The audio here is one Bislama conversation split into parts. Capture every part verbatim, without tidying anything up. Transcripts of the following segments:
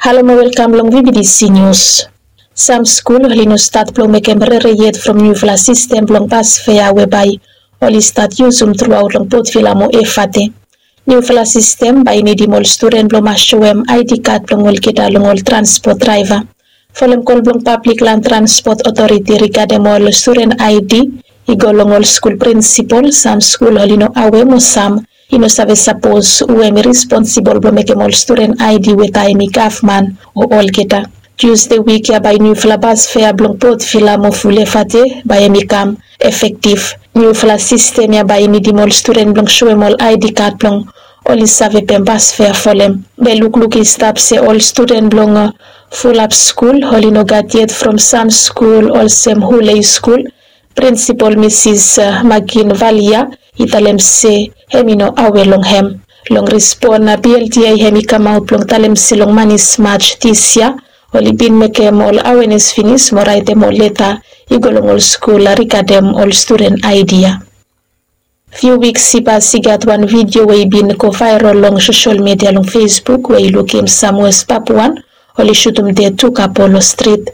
Halo mo welkam long V B T C News. Sam skul oli no stat blong mekem rere yet from niufala sistem blong bas fea we bae oli stat yusum truaot long Port Vila mo Efate. Niufala sistem bae i nidim ol studen blong mas soem I D kad blong olgeta long ol transpot draeva. Folem kol blong Pablik Lan Transpot Otoriti rigadem ol studen I D i go long ol skul prinsipol, sam skul oli no awe mo sam i no save sapos hu hemi responsibol blong mekem ol studen I D we taem i gavman o olgeta. Tusde wik ya bae niufala bas fea blong Port Vila mo Full Efate bae hemi kam efektiv. Niufala sistem ya bae i nidim ol studen blong soem ol I D kad blong oli save pem bas fea folem. Be lukluk i stap se ol studen blong, uh, fulap skul oli no gat yet from sam skul olsem Hulei skul. Prinsipol Misis, uh, Magin Valia i talem se hemi no awe long hem. Long respon, uh, P L T A hemi kamaot blong talem se long manis Maj dis yia oli bin mekem ol awenes finis mo raetem ol leta i go long ol skul rigadem ol studen I D ya. Fiu wiks i pas i gat wan vidio we i bin go vaerol long sosol midia long Facebook we i lukim sam Wes Papuan oli sutum ded tu kapo long strit.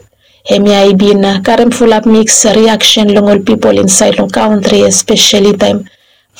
Hemia i bin karem fulap miks riaksen long ol pipol insaed long kantri, espeseli taem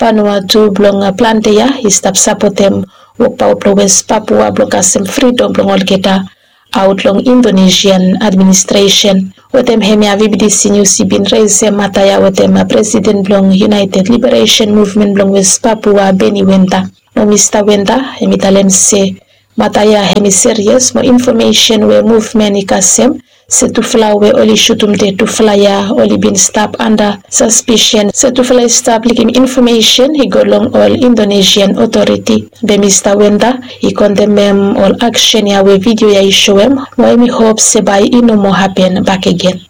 Vanuatu blong plante ya i stap sapotem wokbaot blong Wes Papua blong kasem fridom blong olgeta aot long Indonesian administresen. Wetem hemia V B T C Nius i bin resem mata ya wetem presiden blong United Liberation Movement blong Wes Papua, Benny Wenda. Mo Mista Wenda hemi talem se mata ya hemi serias mo infomesen we muvmen i kasem se tufala we oli sutum ded tufala ya oli bin stap anda saspisen se tufala i stap likim infomesen i go long ol Indonesian otoriti. Be Mista Wenda i kondemem ol aksen ya we vidio ya i soem mo hemi hop se bae i no moa hapen bakegen.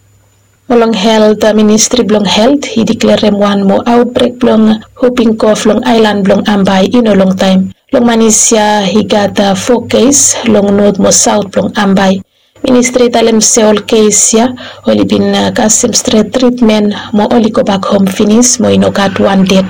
Mo long helt, ministri blong helt i diklerem wan moa aotbrek blong huping kof long aelan blong Ambae i no longtaem. Long manis ya i gat fo kes long not mo saot blong Ambae. Ministri i talem se ol kes ya oli bin kasem stret tritmen mo oli gobak hom finis mo i no gat wan ded.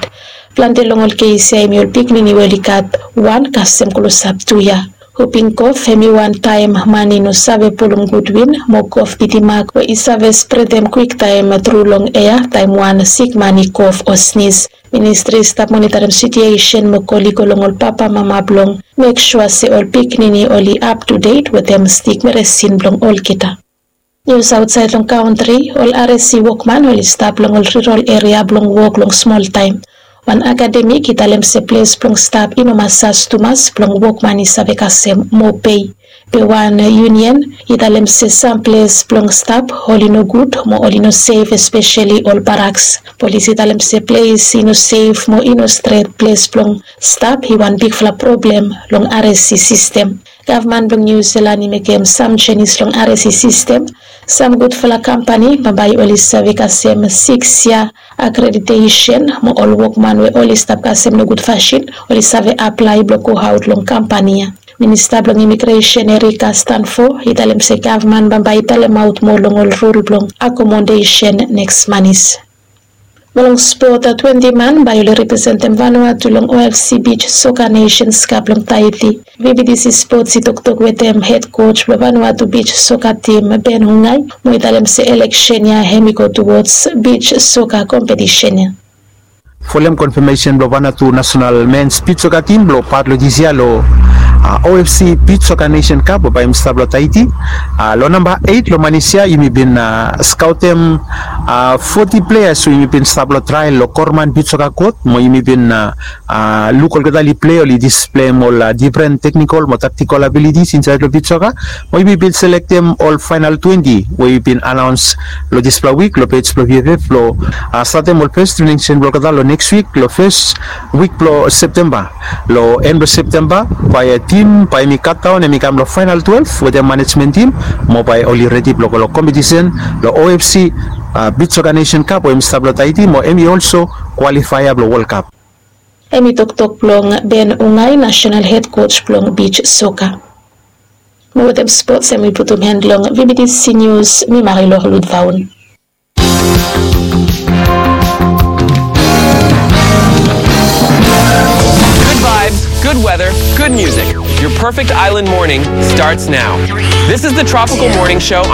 Plante long ol kes ya hemi ol pikinini we oli gat wan kasem klosap tu yia. Huping kof hemi wan taem man i no save pulum gud win mo kof bitimak we i save spredem kwiktaem tru long ea taem wan sikman i kof o snis. Ministri i stap monitarem sitiesen mo kol i go long ol papamama blong mek sua se ol pikinini oli aptudet wetem stik meresin blong olgeta. Nius aotsaed long kantri, ol R S C wokman oli stap long ol rurol eria blong wok long smoltaem. Wan akademik i talem se ples blong stap i no masas tumas blong wokman i save kasem moa pei. Be wan yunian i talem se sam ples blong stap oli no gud mo oli no sef, espeseli ol baraks. Polis i talem se ples i no sef mo i no stret ples blong stap i wan bigfala problem long R S C sistem. Gavman blong Niu Silan i mekem sam jenis long R S C sistem. Sam gudfala kampani bambae oli save kasem siks yia akreditesen mo ol wokman we oli stap kasem nogud fasin oli save aplae blong goaot long kampani ya. Minista blong imigresen Erika Stanfo i talem se gavman bambae i talemaot moa long ol rul blong akomodesen neks manis. Mo long spot, twenti man bae oli representem Vanuatu long O F C Beach Soccer Nations Cup long Tahiti. V B T C Sports i toktok wetem hed kos blong Vanuatu Beach Soccer tim, Ben Hungai, mo i talem se eleksen ya hemi go tuwods beach soccer kompetisen ya. Folem konfamesen blong Vanuatu nasonal mens beach soccer tim blong pat long dis yia long O F C Beach Soccer Nation Cup we bae i stap long Tahiti. Long namba eit long manis ya yumi bin skaotem foti pleas we yumi bin stap long trael long Korman Beach Soccer Kot mo yumi bin luk olgeta oli plei, oli displeim ol difren teknikol mo taktikol abilitis insaed long beach soccer. Mo yumi bin selektem ol faenal twenti we yumi bin anaons long dispela wik long pej blong V F F blong statem ol fes trening seson blong olgeta long neks wik long fes wik blong Septemba. Long en blong Septemba bae tim bae hemi katdaon hemi kam long faenal twelef wetem manejmen tim mo bae oli redi blong go long kompetisen long O F C Beach Soccer Nation Cup we hemi stap long Tahiti mo hemi olso kwalifaea blong World Cup. Hemi toktok blong Ben Ungai, nasonal hed kos blong beach soccer. Mo wetem spots hemi putum han long V B T C News, mi Marilor Ludvaun. Good vibes, good weather, good music. Your perfect island morning starts now. This is the Tropical Morning Show